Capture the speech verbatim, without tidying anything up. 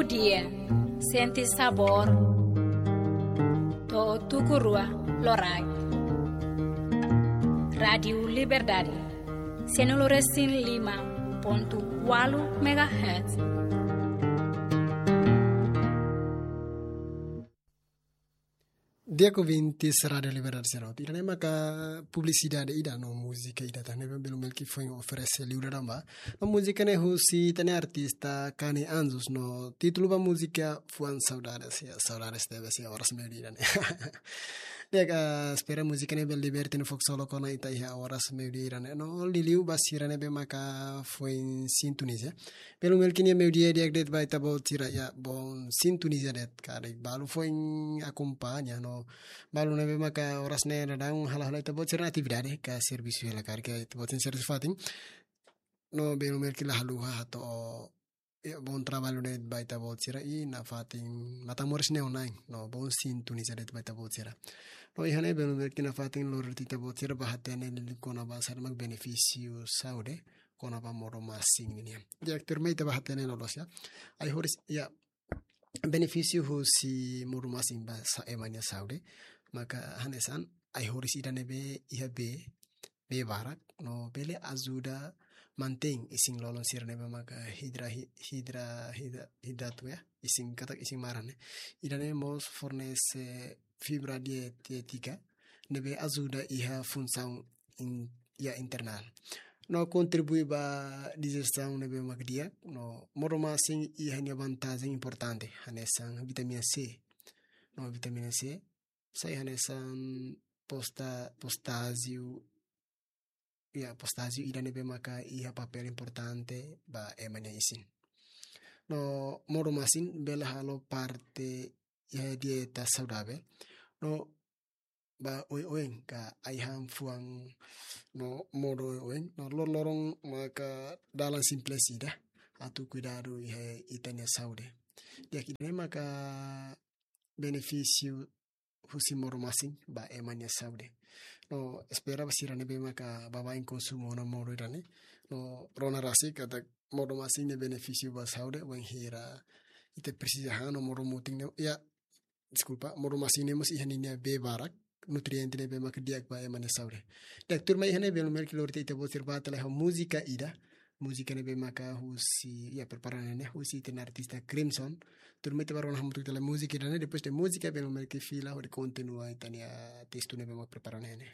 Dia, sente sabór. To'o tuku rua loraik. Rádiu Liberdade, sianulu resin lima pontu ualu megahertz. Di'ak ouvintes Rádiu Liberdade sira hotu. Ida-ne'e maka publisidade ida no múzika ida tan ne'ebé Belu Melki foin oferese liu dadaun ba. No múzika ne'e husi ita-nia artista Kani Anjos no títulu ba múzika Fuan Saudades, ya, saudades tebes iha oras meiudia ne'e. Di'ak, espera múzika ne'e bele liberte no fó ksolok ona ita iha oras meiudia ne'e. No liuliu ba sira ne'ebé maka foin sintoniza. Belu Melki nia meiudia di'ak de'it ba ita-boot sira, ya, bom sintoniza de'it karik balu foin akompaña no balu ne'ebé maka oras ne'e dadaun halo-halo ita-boot sira-nia atividade ka servisu hela karik ita-boot sira servisu fatin. No Belu Melki la haluha hato'o, ya, bom trabalho de'it ba ita-boot sira iha fatin Matamoros neon nine. No bom sintoniza de'it ba ita-boot sira. No iha ne'e Belu Melki nafatin lori ita-boot sira ba hatene liu kona-ba saida mak benefísiu saúde kona-ba modo-masin nian. Di'ak, tuirmai ita ba hatene loloos, ya. Ai-horis, ya, benefísiu husi modo-masin ba sa-, ema nia saúde. Maka hanesan ai-horis ida ne'ebé iha bee, bee barak, no bele ajuda mantein isin-lolon sira ne'ebé maka hidra-, hi-, hidra-, hidra-, hidratu, ya, isin katak isin maran ne'e. Ida-ne'e mós fornese fibra dietétika ne'ebé ajuda iha funsaun in-, ya, internál. No kontribui ba dijesaun ne'ebé mak di'ak, no modo-masin iha nia vantajen importante, hanesan vitamina C. No vitamina C sai hanesan posta-, potásiu, ya, potásiu ida ne'ebé maka iha papél importante ba ema nia isin. No modo-masin bele halo parte iha dieta saudavel. No ba oioin ka ai-han fuan no modo oioin, no loroloron maka dalan simples ida atu kuidadu iha ita-nia saúde. Di'ak, ida-ne'e maka benefísiu husi modo-masin ba ema nia saúde. No espera ba sira ne'ebé maka baibain konsumu ona modo ida-ne'e. No rona rasik katak modo-masin nia benefísiu ba saúde, wainhira ita presiza han no modo-mutin ne'e, ya, deskulpa, modo-masin ne'e mós iha ninia bee barak, nutriente ne'ebé maka di'ak ba ema nia saúde. Di'ak, tuirmai iha ne'e Belu Melki lori ita-boot sira ba tele ho múzika ida. Múzika ne'ebé maka husi, ya, prepara ne'e husi ita-nia artista Crimson. Tuirmai ita ba rona hamutuk tele múzika ida-ne'e, depois de múzika Belu Melki fila hodi kontinua ita-nia testu ne'ebé maka prepara ne'e.